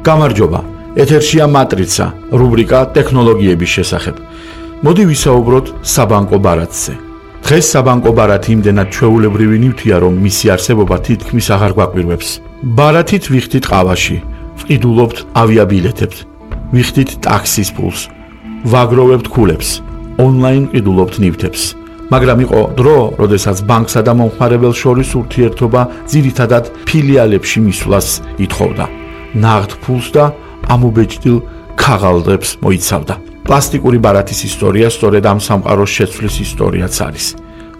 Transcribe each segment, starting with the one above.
გამარჯობა, ეთერშია მატრიცა, რუბრიკა ტექნოლოგიების შესახებ. მოდი ვისაუბროთ საბანკო ბარათზე. დღეს საბანკო ბარათი იმდენად ჩვეულებრივი ნივთია, რომ მისი არსებობა თითქმის აღარ გვაკვირვებს. ბარათით ვიხდით ყავაში, ვყიდულობთ ავიაბილეთებს, ვიხდით ტაქსის ფულს, ვაგროვებთ ქულებს, ონლაინ ყიდულობთ ნივთებს. მაგრამ იყო დრო, როდესაც ბანკსა და მომხმარებელს შორის ურთიერთობა ძირითადად ფილიალებში მისვლას ითხოვდა. ნაღდ ფულს და ამობეჭდილ ქაღალდებს მოიცავდა. პლასტიკური ბარათის ისტორია სწორედ ამ სამყაროს შეცვლის ისტორიაც არის.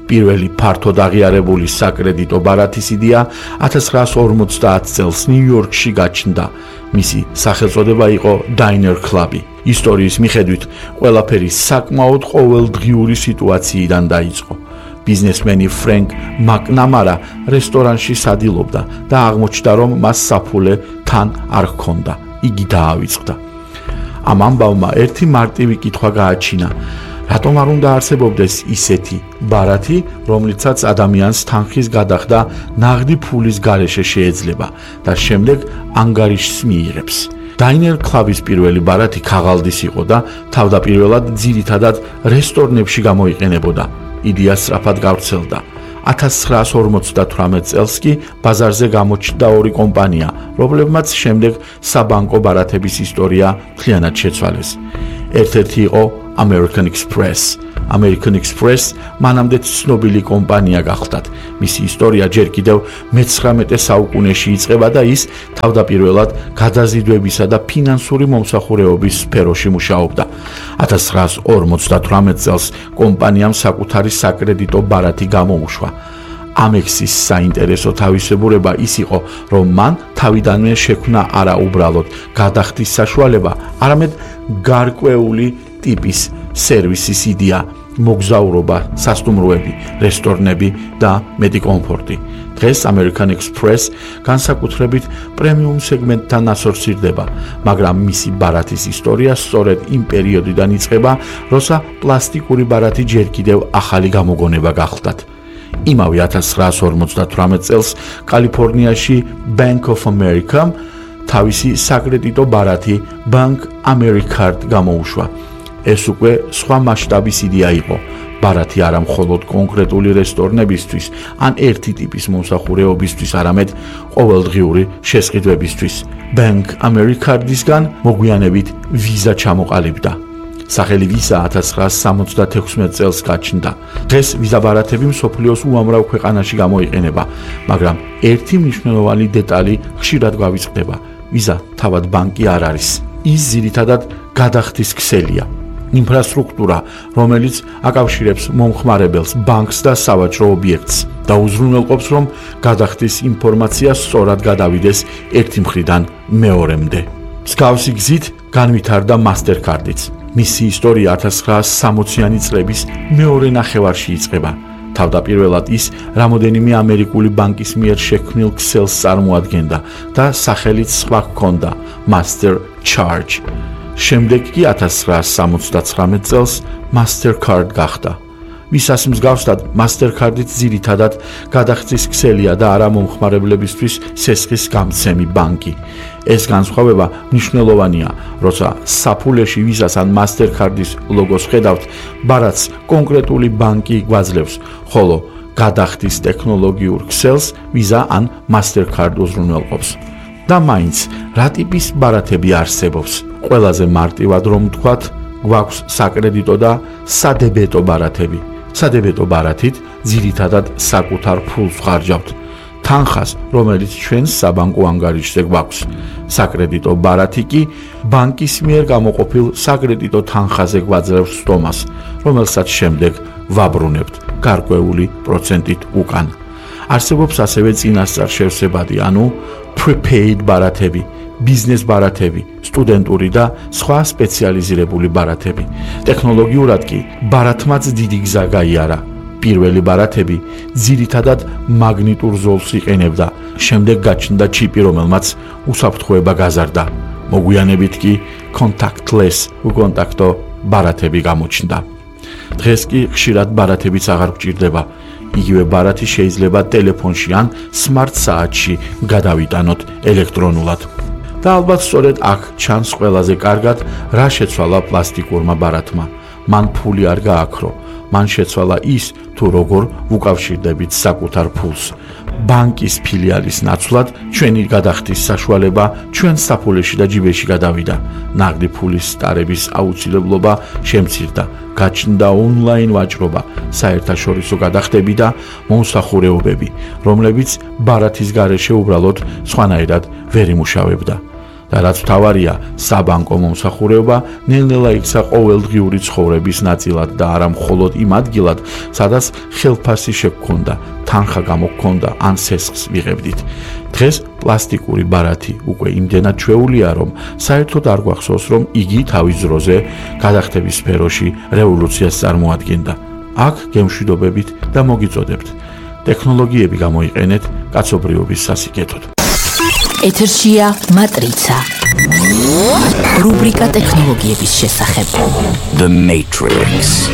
პირველი ფართოდ აღიარებული საკრედიტო ბარათის იდეა 1950 წელს ნიუ-იორკში გაჩნდა. მისი სახელწოდება იყო Diner Club. ისტორიის მიხედვით, ყველაფერი საკმაოდ ყოველდღიური სიტუაციიდან დაიწყო. ბიზნესმენი ფრენკ მაკნამარა რესტორანში სადილობდა და აღმოჩნდა, რომ მას საფულე თან არ ჰქონდა. იგი დაავიწყდა. ამ ამბავმა ერთი მარტივი კითხვა გააჩინა: რატომ არ უნდა არსებობდეს ისეთი ბარათი, რომლიცაც ადამიანს თანხის გადახდა ნაღდი ფულის გარეშე შეეძლება და შემდეგ ანგარიშს მიიღებს. Diner Club-ის პირველი ბარათი ქაღალდის იყო და თავდაპირველად ძირითადად რესტორნებში გამოიყენებოდა. იდეა სწრაფად გავრცელდა. 1958 წელს კი ბაზარზე გამოჩნდა ორი კომპანია, რომლებმაც შემდეგ საბანკო ბარათების ისტორია მთლიანად შეცვალეს. ერთ-ერთი იყო American Express. American Express მანამდე ცნობილი კომპანია გახლდათ. მისი ისტორია ჯერ კიდევ მე-19 საუკუნეში იწყება და ის თავდაპირველად გადაზიდვებისა და ფინანსური მომსახურეობის სფეროში მუშაობდა. 1958 წელს კომპანიამ საკუთარი საკრედიტო ბარათი გამოუშვა. ამექსის საინტერესო თავისებურება ის იყო, რომ მან თავიდანვე შექმნა არა უბრალოდ გადახდის საშუალება, არამედ გარკვეული ტიპის სერვისის იდეა, მოგზაურობა, სასტუმროები, რესტორნები და მეტი კომფორტი. დღეს American Express განსაკუთრებით პრემიუმ სეგმენტთან ასოცირდება, მაგრამ მისი ბარათის ისტორია სწორედ იმ პერიოდიდან იწყება, როცა პლასტიკური ბარათი ჯერ კიდევ ახალი გამოგონება გახლდათ. იმავე 1958 წელს კალიფორნიაში Bank of America თავისი საკრედიტო ბარათი Bank AmeriCard გამოუშვა. ეს უკვე სხვა მასშტაბის იდეა იყო. ბარათი არა მხოლოდ კონკრეტული რესტორნებისთვის ან ერთი ტიპის მომსახურეობისთვის, არამედ ყოველდღიური შესყიდვებისთვის. Bank AmeriCard-ისგან მოგვიანებით ვიზა ჩამოყალიბდა. სახელი ვიზა 1976 წელს გაჩნდა. დღეს ვიზა ბარათები მსოფლიოს უამრავ ქვეყანაში გამოიყენება, მაგრამ ერთი მნიშვნელოვანი დეტალი ხშირად გვავიწყდება: ვიზა თავად ბანკი არ არის. ის ძირითადად გადახდის ქსელია. ინფრასტრუქტურა, რომელიც აკავშირებს მომხმარებელს, ბანკს და სავაჭრო ობიექტს და უზრუნველყოფს, რომ გადახდის ინფორმაცია სწორად გადავიდეს ერთი მხრიდან მეორემდე. მსგავსი გზით განვითარდა MasterCard-იც. მისი ისტორია 1960-იანი წლების მეორე ნახევარში იწყება. თავდაპირველად ის რამოდენიმე ამერიკული ბანკის მიერ შექმნილ ქსელს წარმოადგენდა და სახელიც სხვა ჰქონდა Master Charge. შემდეგ კი 1979 წელს MasterCard გახდა. ვისაც მსგავსად MasterCard-იც ძირითადად გადახდის ქსელია და არა მომხმარებლებისთვის სესხის გამცემი ბანკი. ეს განსხვავება მნიშვნელოვანია, როცა საფულეში ვიზას ან MasterCard-ის ლოგოს ხედავთ, ბარათს კონკრეტული ბანკი გვაძლევს, ხოლო გადახდის ტექნოლოგიურ ქსელს ვიზა ან MasterCard უზრუნველყოფს. და მაინც, რა ტიპის ბარათები არსებობს? ყველაზე მარტივად რომ ვთქვათ, გვაქვს საკრედიტო და სადებეტო ბარათები. სადებეტო ბარათით ძირითადად საკუთარ ფულს ვხარჯავთ. თანხას, რომელიც ჩვენს საბანკო ანგარიშზე გვაქვს. საკრედიტო ბარათი კი ბანკის მიერ გამოყოფილ საკრედიტო თანხაზე გვაძლევს სტომას, რომელსაც შემდეგ ვაბრუნებთ გარკვეული პროცენტით უკან. არსებობს ასევე წინასწარ შევსებადი, ანუ prepaid ბარათები, ბიზნეს ბარათები, სტუდენტური და სხვა სპეციალიზირებული ბარათები. ტექნოლოგიურად კი ბარათმაც დიდი გზა გაიარა. პირველი ბარათები ძირითადად მაგნიტურ ზოლს იყენებდა. შემდეგ გაჩნდა ჩიპი, რომელმაც უსაფრთხოება გაზარდა. მოგვიანებით კი contactless უკონტაქტო ბარათები გამოჩნდა. დღეს კი ხშირად ბარათებიც აღარ გვჭირდება. იგივე ბარათი შეიძლება ტელეფონში ან smart საათში გადავიტანოთ ელექტრონულად. და ალბათ სწორედ აქ ჩანს ყველაზე კარგად რა შეცვალა პლასტიკურმა ბარათმა. მან ფული არ გააქრო, მან შეცვალა ის თუ როგორ ვუკავშირდებით საკუთარ ფულს. ბანკის ფილიალის ნაცვლად ჩვენი გადახდის საშუალება ჩვენ საფულეში და ჯიბეში გადავიდა. ნაღდი ფულის სტარების აუცილებლობა შემცირდა, გაჩნდა ონლაინ ვაჭრობა, საერთაშორისო გადახდები და მომსახურეობები, რომლებიც ბარათის გარეშე უბრალოდ სხვანაირად ვერ იმუშავებდა. და რაც მთავარია, საბანკო მომსახურეობა ნელ-ნელა იქცა ყოველდღიური ცხოვრების ნაწილად და არა მხოლოდ იმ ადგილად, სადაც ხელფასი შეგვქონდა, თანხა გამოგქონდა ან სესხს ვიღებდით. დღეს პლასტიკური ბარათი უკვე იმდენად ჩვეულია, რომ საერთოდ არ გვახსოვს, რომ იგი თავის დროზე გადახდების სფეროში რევოლუციას წარმოადგენდა. აქ გემშვიდობებით და მოგიწოდებთ. ტექნოლოგიები გამოიყენეთ კაცობრიობის სასიკეთოდ. ეთერშია მატრიცა. რუბრიკა ტექნოლოგიების შესახებ. The Matrix.